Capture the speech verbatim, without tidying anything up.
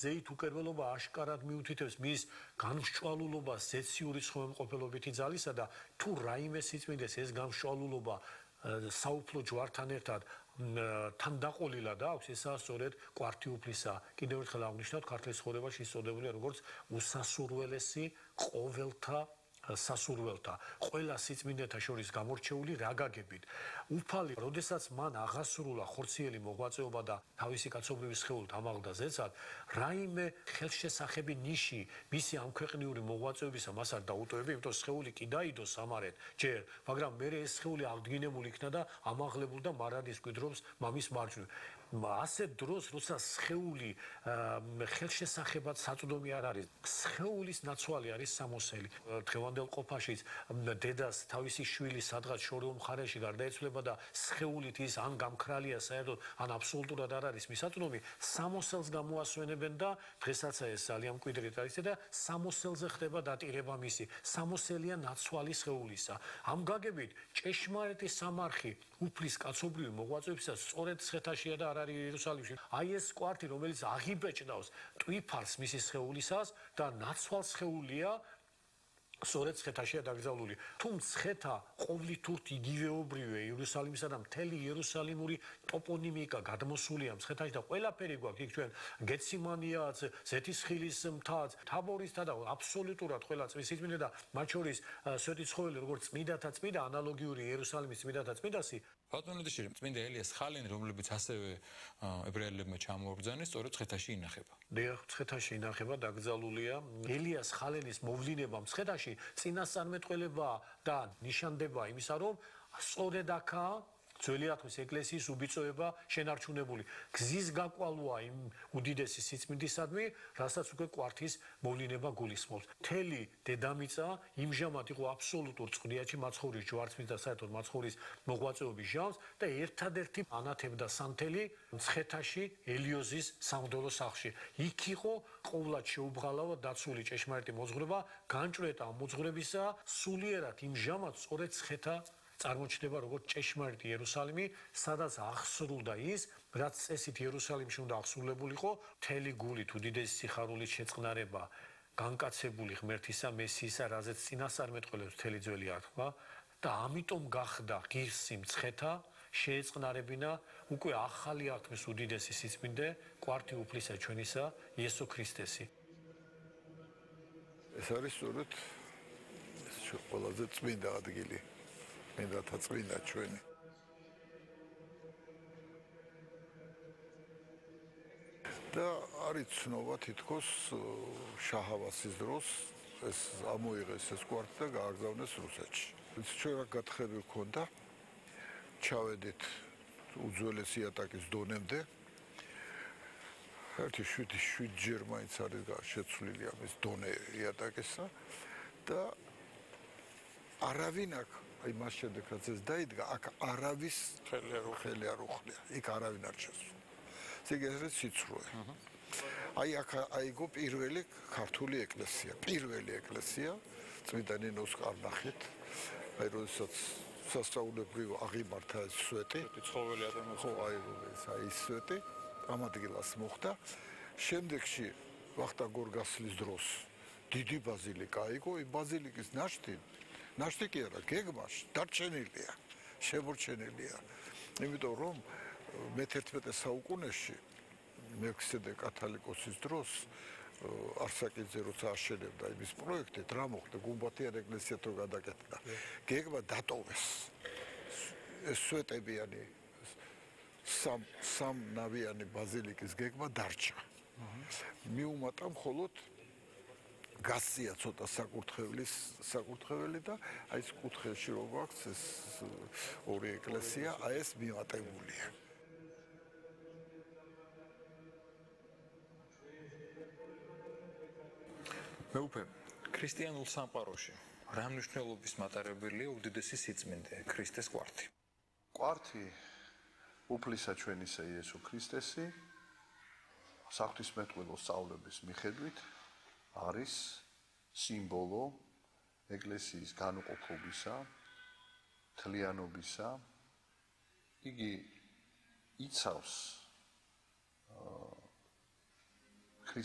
ზეით უკერველობა აშკარად მიუთითებს მის განმსჭვალულობას ზეციური სხვადასხვამყოფელობითი ძალისა და თუ რაიმე სიწმინდეს ეს განმსჭვალულობა საუფლო ჯვართან ერთად თან დაყოლილად აქვს, ესაა სწორედ კვართი უფლისა. კიდევ ერთხელ აღნიშნავთ, ქართლის ცხოვრებაში ისწოდებულია როგორც უსასურველესი ყოველთა სასურველთა, ყველა სიწმინდეთა შორის გამორჩეული რაგაგებით. უფალი, როდესაც მან აღასრულა ხორციელი მოღვაწეობა და თავისი კაცობრიობის სხეულით ამაღლდა ზეცად, რაიმე ხელშესახები ნიში მისი ამქვეყნიური მოღვაწეობისა მას არ დაუტოვებია, იმიტომ სხეული კი დაიდო სამარეთ ჯერ, მაგრამ მერე ეს სხეული აღდგინებული იქნა და ამაღლებულ და მარადის კვიდრობს მამის მარჯვნივ. ასეთ დროს, როცა სხეული ხელშესახებად საწვდომი არ არის, სხეულის ნაცვალი არის სამოსელი. დღევანდელ ყოფაშიც დედას თავისი შვილი სადღაც შორეულ მხარეში გარდაეცვლება და სხეულით ის ან გამქრალია საერთოდ, ან აბსოლუტურად არ არის მისაწვდომი, სამოსელს გამოასვენებენ და დღესაც ეს ძალიან მკვიდრით არის და სამოსელზე ხდება დატირება მისი. სამოსელია ნაცვალი სხეულისა. ამ გაგებით ჭეშმარიტი სამარხი უფლის კაცობრიობის მოღვაწეობისას სწორედ ცხედაშია და არ არის იერუსალიმში. აი ეს კვართი, რომელიც აღიბეჭდავს ტვიფარს მისი სხეულისას და ნაცვალ სხეულია სწორედ ცხედაშია დაკრძალული. თუ მცხეთა ყოვლითურთ იგივეობრივია იერუსალიმისა და მთელი იერუსალიმური ტოპონიმიკა გადმოსულია მცხეთაში და ყველაფერი გვაქვს იქ ჩვენ გეციმანიაც, ზეთისხილის მთაც, თაბორისთა და აბსოლუტურად ყველა წმინდა სიწმინდე და მათ შორის სვეტიცხოველი როგორც წმინდათა წმინდა ანალოგიური იერუსალიმის წმინდათა წმინდასი. ბატონო დეშირი, წმინდა ელიას ხალენი, რომლებიც ასევე ებრაელებმა ჩამოაბრძანეს, სწორედ მცხეთაში ინახება. დიახ, მცხეთაში ინახება, დაკრძალულია. ელიას ხალენის მოვლინება მცხეთაში წინასწარმეტყველება და ნიშანდება იმისა, რომ სწორედ აქაა ძველი ათვლის ეკლესიის უბიწოება შენარჩუნებული. გზის გაკვალვა იმ უდიდესი სიწმინდისადმი, რასაც უკვე კვართის მოვლინება გულისხმობს. მთელი დედამიწა იმჟამად იყო აბსოლუტურ წყდიაჩი მაცხოვრის ჯვარცმის და საერთოდ მაცხოვრის მოღვაწეობის ჟამს და ერთადერთი ანათებდა სანთელი მცხეთაში ელიოზის სამღვდელო სახლში. იქ იყო ყოვლად შეუბრალავად დაცული ჭეშმარიტი მოძღვრება, განჭვრეტა მოძღვრებისა სულიერად იმჟამად სწორედ მცხეთა წარმოჩნდება როგორც ჭეშმარიტი იერუსალიმი, სადაც აღსრულდა ის, რაც წესით იერუსალიმში უნდა აღსრულებულიყო, მთელი გულით უდიდესი სიხარულით შეწყნარება, განკაცებული ღმერთისა მესიისა, რაზეც წინასწარმეტყველებს მთელი ძველი ათქმა და ამიტომ გახდა ღირსი მცხეთა შეეწყნარებინა უკვე ახალი ათქმის უდიდესი სიწმინდე, კვართი უფლისა ჩვენისა იესო ქრისტესი. ეს არის სწორედ ყველაზე წმინდა ადგილი. მინდათა წმინდა ჩვენი. და არის ცნობა თითქოს შაჰავასის დროს ეს ამოიღეს ეს კვართი და გააგზავნეს რუსეთში. ჩვენ რა გათხები გვქონდა, ჩავედით უძველესი იატაკის დონემდე. ერთი შვიდი შვიდჯერ მაინც არის შეცვლილი ამის დონე იატაკისა და არავინ აქ აი მას შემდეგ რაც ეს დაიდგა, აქ არავის ხელი არ უხლია, იქ არავინ არ შესულა. ზეგერეს სიცრუე. აი აქ აიგო პირველი ქართული ეკლესია, პირველი ეკლესია, წმინდა ნინოს კარნახით, აი როდესაც სასწაულებრივ აღიმართა ეს სვეტი, ცხოველი ადამიანი, ხო აი ეს აი სვეტი, ამ ადგილას მოხდა. შემდეგში ვახტანგ გორგასლის დროს დიდი ბაზილიკა აიგო, এই ბაზილიკის ნაშთი ნაშთი კი არა, გეგმაში დარჩენილია, შემორჩენილია. იმიტომ რომ მეთერთმეტე საუკუნეში მელქისედეკ კათალიკოსის დროს არსაკიძე როცა აშენებდა იმის პროექტით, რა მოხდა, გუმბათიან ეკლესიად რო გადაკეთდა. გეგმა დატოვეს. ეს სვეტებიანი სამ სამ ნავიანი ბაზილიკის გეგმა დარჩა. მიუმატა მხოლოდ გასია ცოტა საკურთხევლის საკურთხეველი და აი ეს კუთხეში რო გვაქვს ეს ორი ეკლესია, აი ეს მიმატებულია. მეუფე, ქრისტიანულ სამყაროში რა მნიშვნელობის მატარებელია უდიდესი სიწმინდე, ქრისტეს კვართი? კვართი უფლისა ჩვენისა იესო ქრისტესი საღვთისმეტყველო სწავლების მიხედვით არის სიმბოლო ეკლესიის განუყოფობისა, თლიანობისა. იგი იცავს ქრისტე